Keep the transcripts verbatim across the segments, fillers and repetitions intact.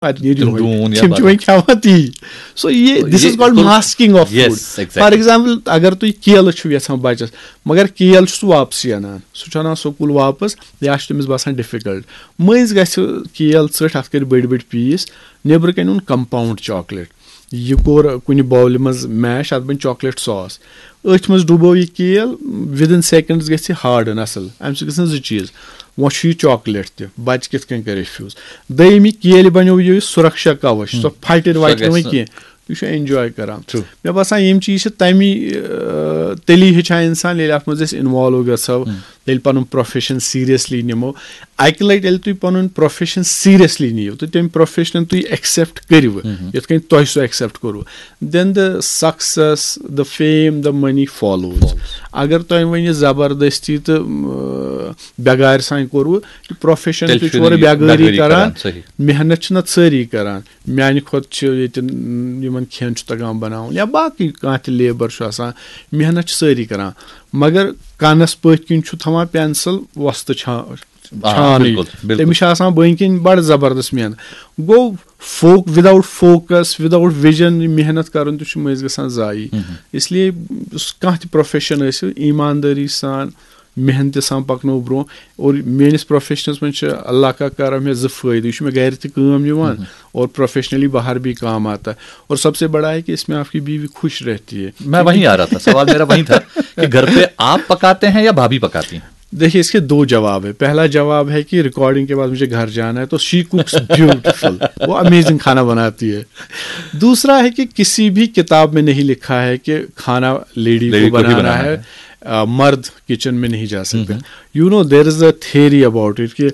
پتہٕ نیرِ تِم یِہوٚے۔ ڈوٗن یا تِم چھِ بدل۔ وۄنۍ کھٮ۪وان تی۔ So یہِ this is یہِ called کوٚر- masking of Yes, food۔ exactly۔ For example، اگر تُہۍ کیلہٕ چھِو یژھان بچس، مگر کیل چھُ سُہ واپسٕے انان، سُہ چھُ انان سکوٗل واپس، یا چھُ تٔمِس باسان difficult۔ مٔنٛزۍ گژھِ کیل ژٔٹھ، اتھ کٔرۍ بٔڑۍ بٔڑۍ پیٖس، نیٚبرٕ کنہِ اوٚن compound chocolate، یہِ کوٚر کُنہِ bowlہِ منٛز mash، اتھ بنہِ chocolate sauce۔ أتھۍ منٛز ڈُبو یہِ کیل، within seconds گژھِ یہِ harden اصل، امہِ سۭتۍ گژھن زٕ چیٖز، وۄنۍ چھُ یہِ chocolate تہِ، بچہِ کِتھ کٔنۍ کرِ refuse۔ دوٚیِم، یہِ کیلہِ بنیو یہِ سُرکشا کوش، سۄ پھٹہِ وۄتھِ نہٕ گژھِ وۄنۍ نہٕ۔ کینٛہہ، یہِ چھُ enjoy کران۔ True۔ مےٚ باسان یِم چیٖز چھِ تمی، آ، تیٚلی ہیٚچھان انسان ییٚلہِ اتھ منٛز أسۍ involve گژھو، ییٚلہِ پنُن profession seriously نِمو۔ اکہِ لٹہِ ییٚلہِ تُہۍ پنُن profession seriously نِیِو تہٕ تمہِ profession تُہۍ accept کٔرِو، یِتھ کٔنۍ تۄہہِ سُہ accept کوٚروٕ، then the success, the fame, the money follows۔ اگر تۄہہِ وۄنۍ یہِ زبردستی تہٕ، آ، بٮ۪گارِ سان کوٚروٕ، یہِ profession تہِ چھُ اورٕ بٮ۪گٲری کران، صحیح۔ محنت چھِ نتہٕ سٲری کران۔ میانہِ کھۄتہٕ چھِ ییٚتہِ، م، یِمن کھٮ۪ن چھُ تگان بناوُن یا باقٕے کانٛہہ تہِ labour چھُ آسان، محنت چھِ سٲری کران، مگر کنس پٔتھۍ کِنۍ چھُ تھاوان pencil وۄستہٕ چھا-، آ، چھانٕے۔ بِلکُل، بِلکُل۔ تٔمِس چھِ آسان بٔنۍ کِنۍ بڑٕ زبردست محنت۔ گوٚو folk-, without focus, without vision، یہِ محنت کرُن تہِ چھُ مٔنٛزۍ گژھان ضایع۔ اس لیے یُس کانٛہہ تہِ profession ٲسِو، ایٖماندٲری سان، محنتہِ سان پکنو برونٛہہ۔ اور میٲنِس professionس منٛز چھِ اللہ کا کرم مےٚ زٕ فٲیدٕ، یہِ چھُ مےٚ گرِ تہِ کٲم یِوان اور professionally باہر بھی کام آتا ہے۔ اور سب سے بڑا ہے کہ اس میں آپ کی بیوی خوش رہتی ہے۔ میں وہیں آ رہا تھا، سوال میرا وہیں تھا کہ گھر پہ آپ پکاتے ہیں یا بھابھی پکاتی ہیں؟ دیکھیے، اس کے دو جواب ہے۔ پہلا جواب ہے کہ recording کے بعد مجھے گھر جانا ہے، تو she cooks beautiful، وہ amazing کھانا بناتی ہے۔ دوسرا ہے کہ کسی بھی کتاب میں نہیں لکھا ہے کہ کھانا لیڈی لیڈی کو کو ہی بنانا بنانا ہے، ہے۔ آ، مرد کچن میں نہیں جا سکتے۔ You know, there is a theory about it کہ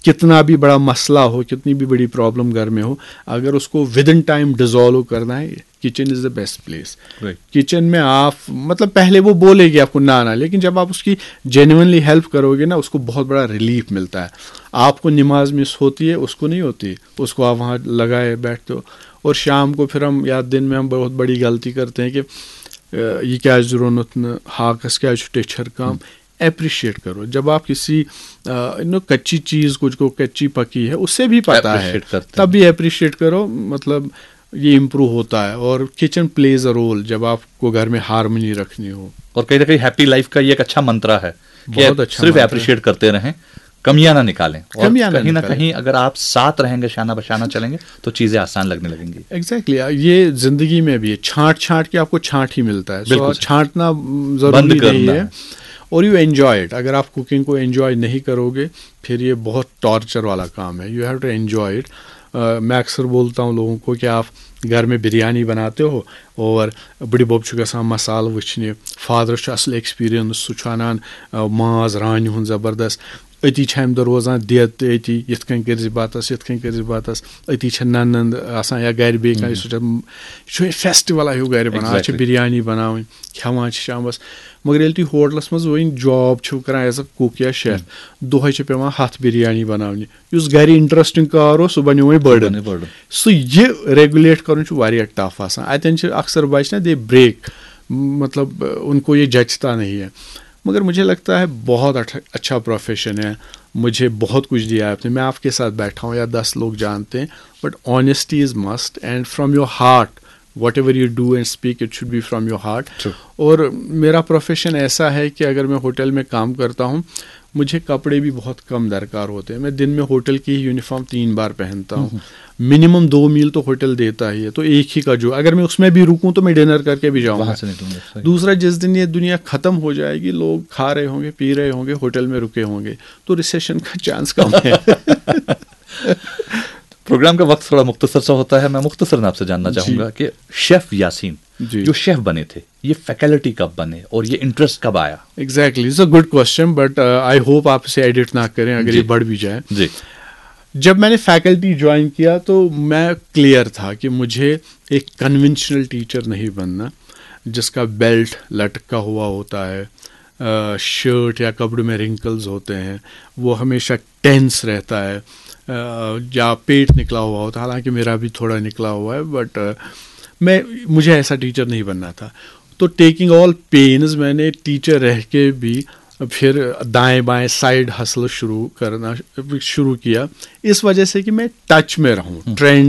کتنا بھی بڑا مسئلہ ہو، کتنی بھی بڑی problem گھر میں ہو، اگر اس کو within time dissolve کرنا ہے، kitchen is the best place۔ Right۔ Kitchen میں آپ، مطلب، پہلے وہ بولے گی آپ کو نہ نہ، لیکن جب آپ اس کی genuinely help کرو گے نا، اس کو بہت بڑا relief ملتا ہے۔ آپ کو نماز مس ہوتی ہے، اس کو نہیں ہوتی، اس کو آپ وہاں لگائے بیٹھتے ہو۔ اور شام کو پھر ہم، یا دن میں ہم بہت بڑی غلطی کرتے ہیں کہ، آ، یہِ کیٛازِ روٚنُتھ نہٕ، ہاکس کیٛازِ چھُ ٹیچھر کم؟ Appreciate کرو۔ جب آپ کسی، آ، you know، کچی چیز کو، جو کچی پکی ہے، اسے بھی پتا ہے، Appreciate کرتے ہیں۔ تب بھی appreciate کرو، مطلب، یہ improve ہوتا ہے۔ اور kitchen plays a role جب آپ کو گھر میں harmony رکھنی ہو۔ اور کہیں نہ کہیں happy life کا یہ ایک اچھا منترا ہے کہ بہت اچھا صرف منترا ہے۔ اپریشیٹ کرتے رہیں، کمیاں نہ نکالیں، اور کمیاں نہ کہیں نہ نکالیں۔ کہیں اگر آپ ساتھ رہیں گے، شانہ بشانہ چلیں گے، تو چیزیں آسان لگنے لگیں گی۔ ایگزیکٹلی، یہ زندگی میں بھی ہے، چھانٹ چھانٹ کے آپ کو چھانٹ ہی ملتا ہے۔ سو بالکل صحیح۔ چھانٹنا بند ضروری نہیں کرنا ہے۔ ہے۔ اور you enjoy it۔ اگر آپ کوکنگ کو انجوائے نہیں کرو گے، پھر یہ بہت ٹارچر والا کام ہے۔ You have to enjoy it۔ میں اکثر بولتا ہوں لوگوں کو کہ آپ گھر میں بریانی بناتے ہو اور بٕڈِ بب چھُ گژھان مسالہٕ وٕچھنہِ، فادرس چھُ اصل ایکسپیرینس، سُہ چھُ انان، آ، ماز رانہِ ہُنٛد زبردست۔ أتی چھِ امہِ دۄہ روزان دٮ۪د تہِ أتی، یِتھ کٔنۍ کٔرۍ زِ بتس، یِتھ کٔنۍ کٔرۍ زِ بتس۔ أتی چھِ ننند آسان یا گرِ بیٚیہِ کانٛہہ، یہِ چھُ، یہِ چھُ فیسٹیولا ہیوٗ گرِ بنان۔ اتھ چھِ Exactly۔ بریانی بناوٕنۍ، کھٮ۪وان چھِ شامس۔ مگر ییٚلہِ تُہۍ ہوٹلس منٛز وۄنۍ جاب چھِو کران ایز اے کُک یا شیف، دۄہے چھِ پٮ۪وان ہتھ بریانی بناونہِ۔ یُس گرِ انٹرسٹنگ کار اوس، سُہ بنیو وۄنۍ بٔڑن۔ بنیو بٔڑن۔ سُہ یہِ ریگولیٹ کرُن چھُ واریاہ ٹف آسان۔ اتٮ۪ن چھِ اکثر بچہِ نا، they break، مطلب، ان کو یہ جچتا نہیں ہے۔ مگر مجھے لگتا ہے بہت اچھا، اچھا پروفیشن ہے، مجھے بہت کچھ دیا ہے آپ نے۔ میں آپ کے ساتھ بیٹھا ہوں یا دس لوگ جانتے ہیں، but honesty is must and from your heart, whatever you do and speak, it should be from your heart۔ True۔ اور میرا پروفیشن ایسا ہے کہ اگر میں ہوٹل میں کام کرتا ہوں، مجھے کپڑے بھی بہت کم درکار ہوتے ہیں۔ میں دن میں ہوٹل کی ہی یونیفارم تین بار پہنتا ہوں۔ منیمم دو میل تو ہوٹل دیتا ہی ہے، تو ایک ہی کا جو، اگر میں اس میں بھی رکوں تو میں ڈنر کر کے بھی جاؤں گا۔ وہاں سے نکلوں گا، صحیح۔ دوسرا، جس دن یہ دنیا ختم ہو جائے گی، لوگ کھا رہے ہوں گے، پی رہے ہوں گے، ہوٹل میں رکے ہوں گے، تو ریسیشن کا چانس کم ہے۔ پروگرام کا وقت تھوڑا مختصر سا ہوتا ہے، میں مختصر آپ سے جاننا چاہوں گا کہ شیف یاسین جی۔ جو شیف بنے تھے، یہ فیکلٹی کب بنے اور یہ انٹرسٹ کب آیا؟ Exactly, it's a good question, but I hope آپ اسے ایڈٹ نہ کریں اگر جی۔ یہ بڑھ بھی جائے۔ جی۔ جب میں نے فیکلٹی جوائن کیا تو میں کلیئر تھا کہ مجھے ایک کنونشنل ٹیچر نہیں بننا، جس کا بیلٹ لٹکا ہوا ہوتا ہے، شرٹ یا کپڑے میں رنکلز ہوتے ہیں، وہ ہمیشہ ٹینس رہتا ہے، آ، یا پیٹ نکلا ہوا ہوتا ہے، حالانکہ میرا بھی تھوڑا نکلا ہوا ہے، بٹ میں، مجھے ایسا ٹیچر نہیں بننا تھا۔ تو ٹیکنگ آل پینز، میں نے ٹیچر رہ کے بھی پھر دائیں بائیں سائیڈ ہسل شروع کرنا شروع کیا، اس وجہ سے کہ میں ٹچ میں رہوں، ٹرینڈ